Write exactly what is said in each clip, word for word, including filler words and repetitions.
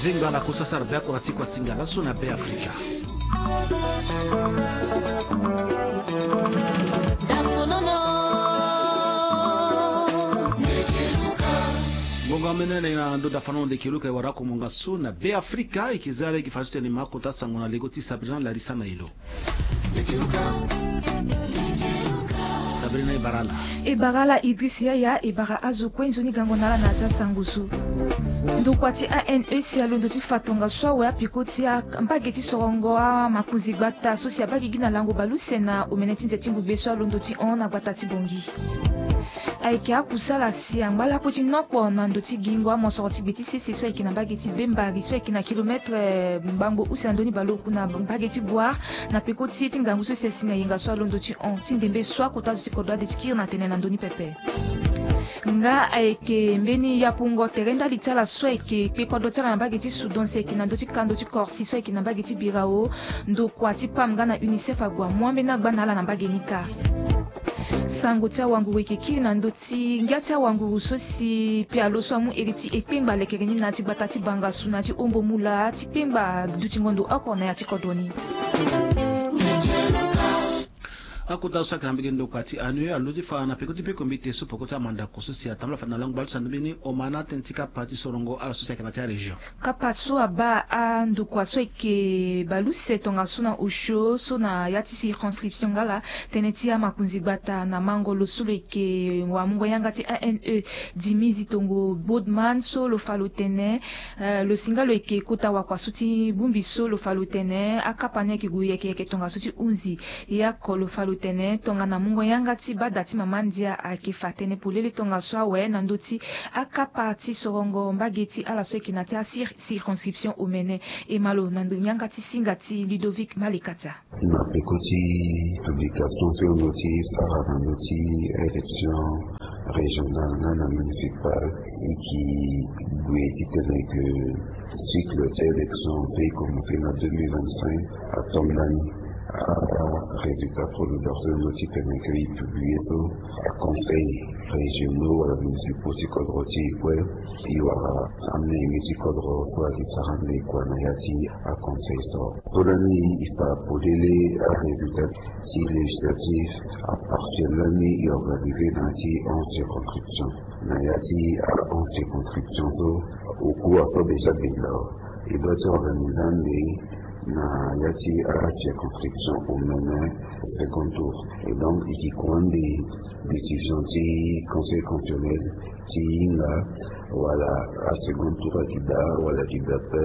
Ngba na kusasara be akora ti kuasinga laso na be afrika. Ngonga mene na ndo dafano ndeke luka e wara ako monga so na be afrika e ke za lege faso ti alima akota sango na lego ti sabrina larisa na elo. Sabrina e bara ala. E bara ala idris yaya e bara azo kue nzoni gango na ala na ya ti asango so. Ndokua ti anec alondo ti fa tongaso awe apiko ti mbage ti sorongo amakonzi gbata so si abaa gigi na lango baleuse na omene ti nze ti ngugbe so alondo ti hon na gbata ti bongi. Ayeke akusala si angba lakue ti nokpo na ndo ti gingo amosoro ti gbe ti sese so ayeke na mbage ti bembari so ayeke na kilometre ngbangbo use na ndoni baleoku na mbage ti boire, na peko ti ye ti ngangu so si asi na yenga so alondo ti hon ti ndembe so akota zo ti kodro ade ti kiri na tene na ndoni pepe. Nga ayeke mbeni yapungo tere ndali ti ala so ayeke kpe kodro ti ala na mbage ti soudan si ayeke na ndö ti kando ti corsi so ayeke na mbage ti birao. Ndokua ti pam nga na unicef ague amu ambeni agba na ala na mbage ni kâ. Sango ti awanguru eke kiri na ndö ti ngia ti awanguru so si pialo so amu iri ti ekpengba lekere ni na ya ti gbata ti bangasu na ya ti hombo mula ti kpengba dutingo ndo oko na ya ti kodro ni. Akota so ayeke na mbege ndokua ti anu alo ti fa na peko ti peko mbi te so poko ti amandako so si atambula fade na lango baleuse na ndö mbeni omana tënë ti kapa ti sorongo ala so si ayeke na ya ti arégion. Kapa so abaa andokua so ayeke baleuse tongaso na osio so na ya ti circonscription nga ala tënë ti amakonzi gbata na mango lo so lo yeke wamungo yanga ti ane dimizi tongo bodman so lo fa lo tene. Lo si nga lo yeke kota wakua so ti bongbi so lo fa lo tene akapa ni ayeke gue yeke yeke tongaso ti hunzi. Ye oko lo fa lo tene tongana mungo yanga ti bada ti mama ndia ayeke fa tënë polele tongaso awe na ndö ti akapa ti sorongo mbage ti ala so ayeke na ya ti acirconscription omene. E ma lo na ndo yanga ti singa ti ludovic malekatia. Na peko ti publication so e lo ti sara na ndö ti élection régionale nga na municipale e ki gue titene ke cycle ti élection so e commence na deux mille vingt-cinq atonga ni. Arésultat provisoire so e lo titene ke e publie so aconseil régionaux wala municipaux ti kodro ti e kue. E wara amenge ti kodro so ayeke sara ande kua na ya ti aconseil so. So lani e fa polele arésultat ti législatif apartiel lani e organise na ya ti onze circonscription. Na ya ti onze circonscription so oku aso déjà benda e doit ti organise ande na ya ti acirconscription omene second tour. Et donc e ki kua ande décision ti conseil constitutionnel ti hinga wala asecond tour ayeke daa wala ayeke daa pe.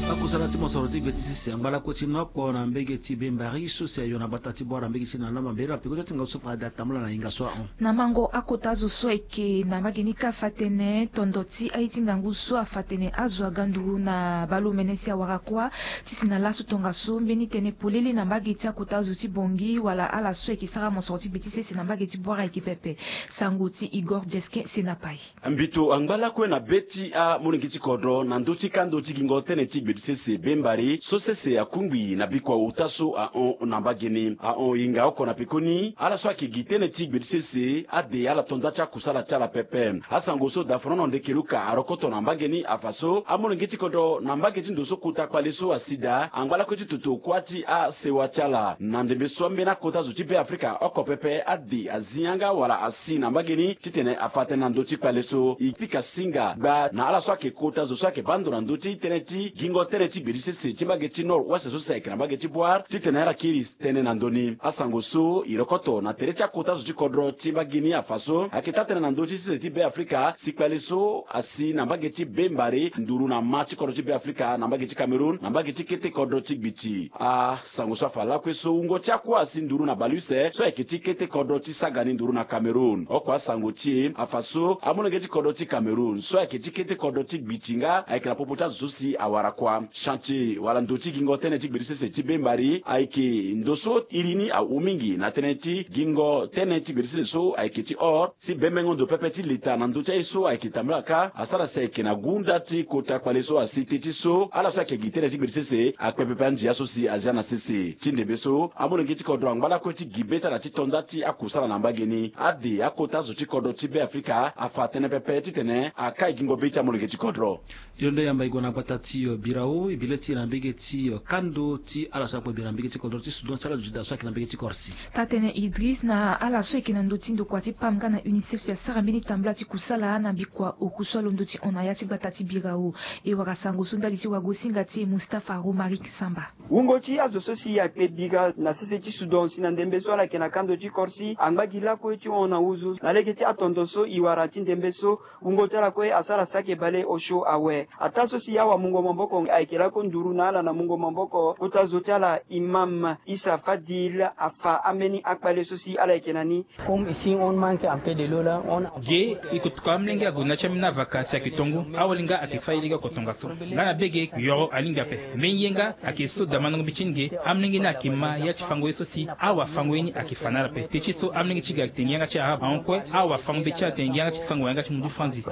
Akusala ti mosoro ti gbe ti sese angba lakue ti nokpo na mbege ti bembari so si ayo na gbata ti bwara mbege ti na lama mbela na peko ti atinga so fa ade atambula na hinga so ahon. Na mango akota zo so ayeke na mbage ni kâ afa tënë tondo ti aye ti ngangu so afa tënë azo aga nduru na baleomene si awara kuâ. Ti si na laso tongaso mbeni tënë polele na mbage ti akota zo ti bongi wala ala so ayeke sara mosoro ti gbe ti sese na mbage ti bwara ayeke pepe. Sango ti igor dieskin sena pai. Mbito angba lakue na be ti amolenge ti kodro na ndö ti kando ti gingo tënë ti gbe ti sese bembari so sese akungbi na bikua ota so ahon na mbage ni ahon hinga oko na pekoni ala so ayeke gi tënë ti gbe ti sese ade ala to nda ti akusala ti ala pepe. Asango so daforono ndeke luka arokoto na mbage ni afa so amolenge ti kodro na mbage ti ndo so kota kpale so asi daa angba lakue ti toto kuâ ti asewa ti ala na ndembe so ambeni akota zo ti be afrika oko pepe ade azi yanga wala asi na mbage ni titene afa tënë na ndö ti kpale so e pika singa gba na ala so ayeke kota zo so ayeke baa ndo na ndö ti tënë ti gingo tënë ti gbe ti sese ti mbage ti nord ouest so si ayeke na mbage ti boire titene ala kiri tënë na ndö ni. Asango so e rokoto na tere ti akota zo ti kodro ti mbage ni afa so ayeke taa tënë na ndö ti sese ti be afrika si kpale so asi na mbage ti be mbare nduru na ma ti kodro ti be afrika na mbage ti cameroun na mbage ti kete kodro ti gbiti. Asango so afa lakue so wungo ti akua asi nduru na baleuse so ayeke ti kete kodro ti saga ni nduru na cameroun oko asango ti e afa so amolenge ti kodro ti cameroun so ayeke ti kete kodro ti gbiti nga ayeke na popo ti azo so si awara kuâ. Chantier wala ndo ti gingo tënë ti gberi sese ti bembari ayeke ndo so iri ni ahu mingi na tënë ti gingo tënë ti gberi sese so ayeke ti or si bembengo ndo pepe ti leta na ndö ti aye so ayeke tambula kâ asara si ayeke na gunda ti kota kpale so asi te ti so ala so ayeke gi tënë ti gberi sese akpe pepe andia so si azia na sese ti ndembe so amolenge ti kodro angba lakue ti gi be ti ala ti to nda ti akusala na mbage ni ade akota zo ti kodro ti be afrika afa tënë pepe titene akai gingo be ti amolenge ti kodro. Londo yamba e gue na gbata ti birao e bi le ti e na mbege ti kando ti ala so akpe bira na mbege ti kodro ti sudan si ala duti daa so ayeke na mbege ti korsi. Taa-tënë idris na ala so ayeke na ndö ti ndokua ti pam nga na unicef si asara mbeni tambula ti kusala na bikua oku so alondo ti hon na ya ti gbata ti birao. E wara sango so ndali ti wagosinga ti e mustapha romaric samba. Wungo ti azo so si akpe bira na sese ti sudan si na ndembe so ala yeke na kando ti korsi angba gi lakue ti hon na huzu na lege ti atondo so e wara ti ndembe so. Wungo ti ala kue asara saki bale osio awe. Ataa so si awamungo maboko ayeke lako nduru na ala na mungo maboko kota zo ti ala imam isa fadil afa ambeni akpale so si ala yeke na ni. Comme ici on manque un peu de l'eau là on. Ge e ko toko amolenge ague na ti ambeni avaka si ayeke to ngu. Awalinga ayeke fa ye lege oko tongaso nga na bege yoro alingbi ape. Mbeni ye nga ayeke so damandango mbeti ni ge. Amolenge ni ayeke ma ya ti fango ye so si awafango ye ni ayeke fa na ala ape te ti so amolenge ti ge ayeke tene gi yanga ti arabe ahon kue. Awafango mbeti ni atene gi yanga ti sango wala yanga ti mundu ti franzi.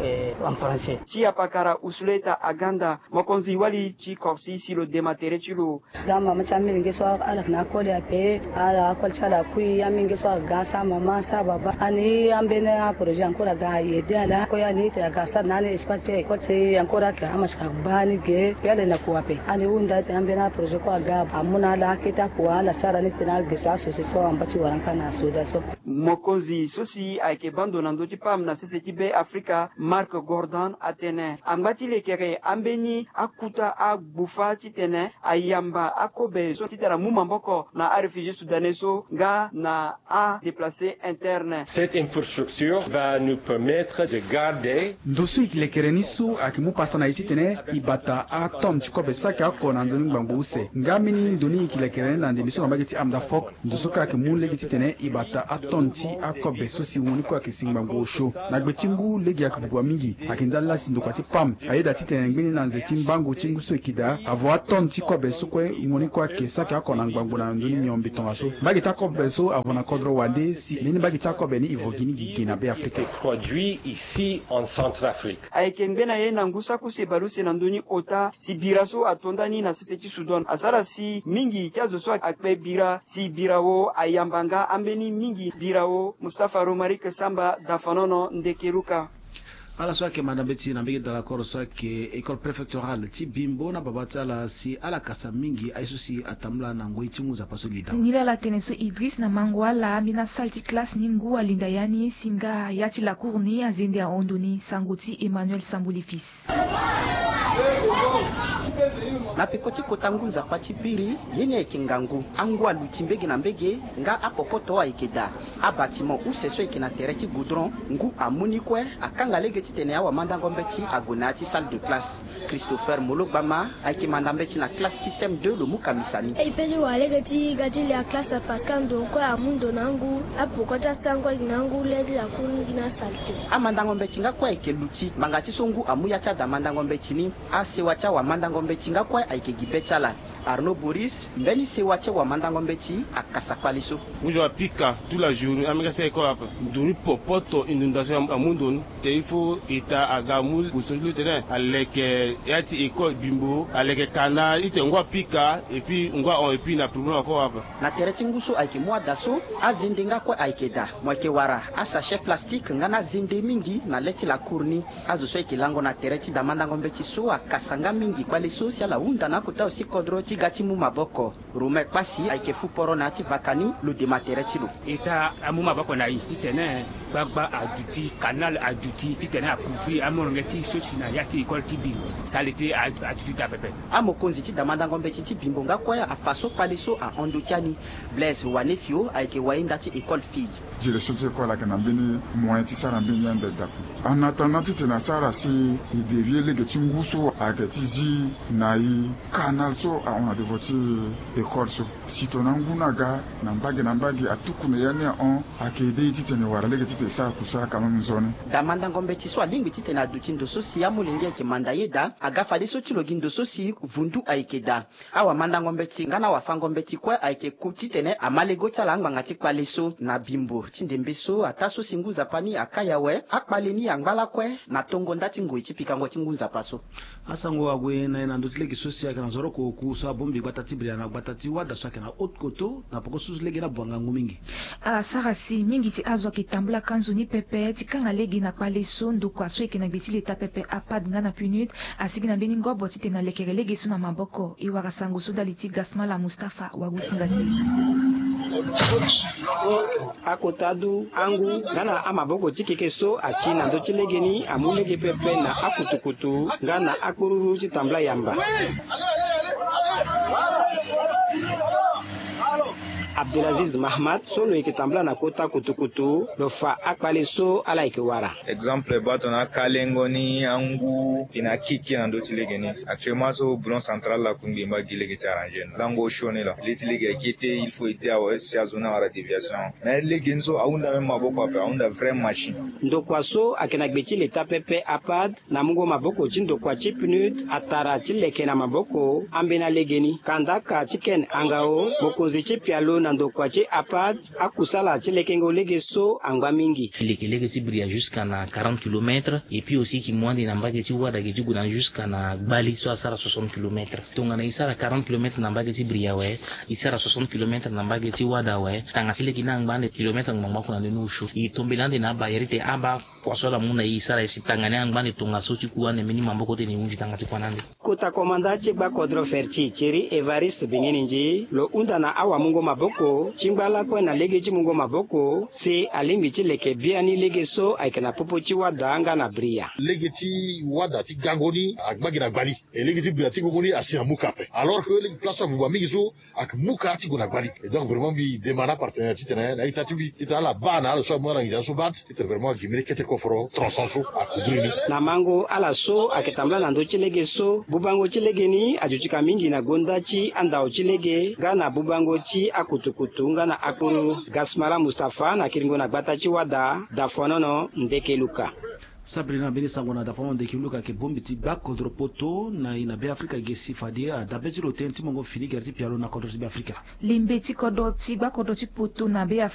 Ti apakara usuleta aganda mokonzi wali ti korsi si lo dema tere ti lo. Ga mama ti amilenge so ala yeke na akoli ape. Ala akoli ti ala akui amilenge so aga sa mama sa baba ani ambeni aprojet encore aga ayede ala kue ani ete aga sara na ani espace ti école si encore ayeke amasika baa ni ge pe ala yeke na kua ape. Ani hunda ete ambeni aprojet kue aga amu na ala akete akua ala sara ni tena ala gesa asose so amba ti wara nga na soda so. Mokonzi so si ayeke bando na ndö ti pam na sese ti be afrika marc gordon atene angba ti lekere ambeni akuta agbufa titene ayamba akobe so titene amu maboko na aréfugié soudanais so nga na adeplace interne. Cette infrastructure va nous permettre de garder. Ndo so e lekere ni so ayeke mu pasa na e titene e bata atonne ti kobe saki oko na ndoni ngbangbo use nga mbeni ndo ni e yeke lekere ni na ndembe so na mbage ti amda fok. Ndo so kue ayeke mu lege titene e bata atonne ti akobe so si wungo ni kue ayeke si ngbangbo osio. Na gbe ti ngu lege ayeke bubua mingi. Ayeke ndali laa si ndokua ti pam ayeda titene ngbeni na nze ti mbango ti ngu so e yeke daa avo atonne ti kobe so kue wungo ni kue ayeke saki oko na ngbangbo na ndoni miombe tongaso. Mbage ti akobe so avo na kodro wande si mbeni mbage ti akobe ni e vo gi ni gi ge na be afrika. Produit ici en centrafrique. Ayeke ngbe na ye na ngu saki use baleuse na ndö ni ota si bira so ato nda ni na sese ti sudan asara si mingi ti azo so akpe bira si birao ayamba nga ambeni mingi birao mustapha romaric samba dafanono ndekeruka. Ala so ayeke manda mbeti na mbege dalakoro so ayeke école préfectorale ti bimbo na baba ti ala si ala kasa mingi aye so si atambula na ngoi ti ngu nzapa so lida. Nilala tene so idris na mango ala ambeni asale ti classe ni ngu alinda ya ni si nga ya ti lakour ni azende ahon ndo ni sango ti emmanuel sambuli fils. Na peko ti kota ngu nzapa ti biri ye ni ayeke ngangu angu aluti mbege na mbege nga apopoto ayeke daa. Abâtiment use so ayeke na tere ti goudron ngu amu ni kue akanga lege titene awamandango mbeti ague na ya ti salle de classe. Christopher mologbama ayeke manda mbeti na classe ti sem deux lo mu kamisa ni. E pe ti wara lege ti ga ti lia classe parce que ando kue amu ndo na angu. Apoko ti asango ayeke na angu le ti lakour ni gi na salle te. Amandango mbeti nga kue ayeke luti ngbanga ti so ngu amu ya ti ada mandango mbeti ni. Asewa ti awamandango mbeti nga kue ayeke gi be ti ala. Arnaud boris mbeni sewa ti awamandango mbeti akasa kpale so. Ngu zo apika tout la journée amega si école ape. Nduru ni popoto inondation amu ndo ni. Te il faut état aga mu position ti lo tene aleke ya ti école bimbo aleke kana ite ngu apika et puis ngu ahon et puis na problème ako ape. Na tere ti ngu so ayeke mu ada so azende nga kue ayeke daa mo yeke wara asachet plastique nga na azende mingi na le ti lakour ni. Azo so ayeke lango na tere ti damandango mbeti so akasa nga mingi kpale so si ala hunda na akota osi kodro ti ga ti mu maboko. Romain kpasi ayeke fu poro na ya ti vaka ni lo dema tere ti lo. Eta amu maboko na e titene gbagba aduti kanal aduti titene akouvri amolenge ti so si na ya ti école ti bimbo sale ti aduti daa pepe. Amokonzi ti damandango mbeti ti bimbo nga kue afa so kpale so ahon ndo ti ani. Blaise wanefio ayeke wayenda ti école fille. Direction ti école ayeke na mbeni moyen ti sara mbeni ande daku. En attendant titene asara si e devie lege ti ngu so ayeke ti zi na e kanal so ahon na devo ti école so. Titene angu ni aga na mbage na mbage atuku na ya ni ahon. Ayeke de ye titene e wara lege titene e sara kusala quand même nzoni. Daa mandango mbeti so alingbi titene aduti ndo so si amolenge ayeke manda ye daa aga fadeso ti lo gi ndo so si vundu ayeke daa. Awamandango mbeti nga na awafango mbeti kue ayeke ku titene ama lego ti ala angbanga ti kpale so na bimbo ti ndembe so ataa so si ngu nzapa ni akai awe akpale ni angba lakue na tongo nda ti ngoi ti pikango ti ngu nzapa so. Asango ague na ye na ndö ti lege so si ayeke na nzoroko oku so abongbi gbata ti bria na gbata ti wada so ayeke na haute koto na poko so lege ni abuanga ngu mingi. Asara si mingi ti azo ayeke tambula ka nzoni pepe ti kanga lege na kpale so ndokua so eke na gbe ti leta pepe apad nga na punut asigi na mbeni ngobo titene alekere lege so na maboko e wara sango so ndali ti gasmala mustafa wagusinga ti. Akota du angu nga na amaboko ti keke so ati na ndö ti lege ni amu lege pepe na akutukutu nga na akpururu ti tambula yamba. Abdelaziz mahmad so lo yeke tambula na kota kutukutu lo fa akpale so ala yeke wara. Exemple baa tongana akalengo ni angu ina kiki na ndö ti lege ni. Actuellement so boulon central lakungbi mba gi lege ti arranger ni lango osio ni la li ti lege akete il faut ete awe si azo ni awara déviation. Mais lege ni so ahunda même maboko ape ahunda vraie machine. Ndokua so ayeke na gbe ti leta pepe apad na mungo maboko ti ndokua ti pnud atara ti leke na maboko ambena lege ni kandaka ti ken angao mokonzi ti pialo na ndokua ti apad. Akusala ti lekengo lege so angba mingi. Leke lege ti bria jusqu'à na quarante kilomètres et puis aussi ki mu ande na mbage ti wada gi ti gue na jusqu'à na gbali so asara soixante kilomètres. Tongana e sara quarante kilomètres na mbage ti bria awe e sara soixante kilomètres na mbage ti wada awe tanga ti lege ni angba ande kilomètres ngbangba oko na ndeni osio e tombela ande na abayere te aba kua so ala mu na e e sara e si tanga ni angba ande tongaso ti ku ande mbeni maboko ti tene e hunzi tanga ti kua na ande. Kota komanda ti gbakodro ferti thierry evariste bengeni nzi lo hunda na awamungo maboko ti ngba lakue na lege ti mungo maboko si alingbi ti leke biani lege so ayeke na popo ti wada nga na bria. Lege ti wada ti gango ni agba gi na gbali. E lege ti bria ti gongo ni asi na muka ape alors que lege place so abuba mingi so ayeke muka ti gue na gbali. Et donc vraiment mbi demande apartenaire titene na ita ti mbi ita ala baa na ala so amu ala nginza so baa ti titene vraiment agi mbeni kete koforo transan so akudri ni. Na mango ala so ayeke tambula na ndö ti lege so bubango ti lege ni aduti ka mingi na gonda ti andao ti lege nga na bubango ti akutukutu nga na akpuru. Gasmala mustafa na kiringo na gbata ti wada dafonono ndeke luka. Sabri na mbeni sango na dafonono ndeke luka ayeke bongbi ti gbakodro poto na e na be afrika gesi fade adabe ti lo ten ti mongo fini gere ti pialo na kodro ti be afrika. Lembe ti kodro ti gbakodro ti poto na be afrika.